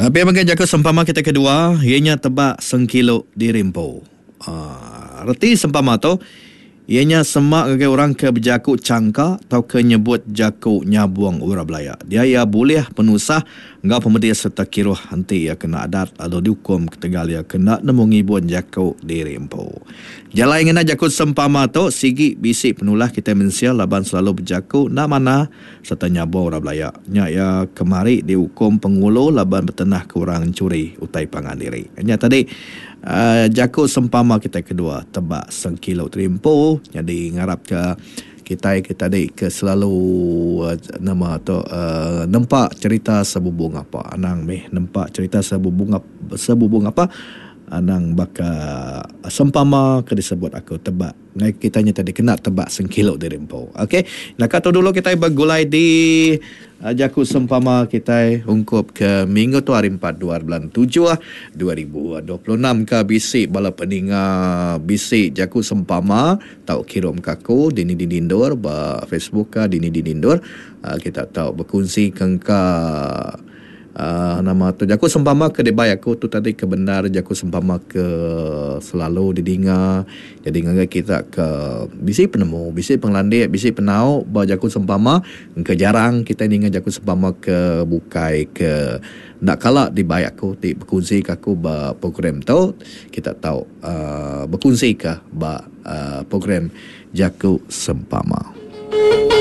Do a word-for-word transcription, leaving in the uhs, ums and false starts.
Pia mega jaku sempama kita kedua iya nya tebak sengkilu diri empu. Aaa reti sempama tu iya nya sema ngagai orang ke bejaku changka tauka nyebut jaku nyabung orang belaya. Dia iya bulih penusah enggau pemedis sereta kiruh enti iya kena adat lalu diukum ketegal iya ke enda nemu ngibun jaku diri empu. Jalai ngena jaku sempama tu sigi bisi penulah kitai mensia laban selalu bejaku enda manah sereta nyabung orang belaya. Nya iya kemari diukum pengulu laban betenah ke orang enchuri utai pangan diri. Nya tadi uhh jaku sempama kitai kedua tebak sengkilu terimpu nyadi ngarapka kitai ke tadi ke selalu nama tu uhh nempa cherita sebubung apa. Anang mih nempa cherita sebubung sebubung apa anang baka sempama ke disebut aku tebak ngagai kitai nya tadi kena tebak sengkilu diri empu. Okey naka tu dulu kitai begulai di jaku sempama kitai ungkup ke minggu tu hari empat dua bulan tujuh dua ribu dua puluh enam ka bisi bala peninga bisi jaku sempama tau kirum ka aku dini dini endur ba Facebook ka dini dini endur kita tau bekunsi ke engka uhh nama tu jaku sempama ke dibai aku tu tadi ke bendar jaku sempama ke selalu didinga jadi ngagai kita ke bisi penemu bisi pengelandik bisi penau ba jaku sempama engka jarang kitai ninga jaku sempama ke bukai ke enda kala dibai aku ti bekunsi ka aku ba program tu kita tau uhh bekunsi ka ba uhh program jaku sempama.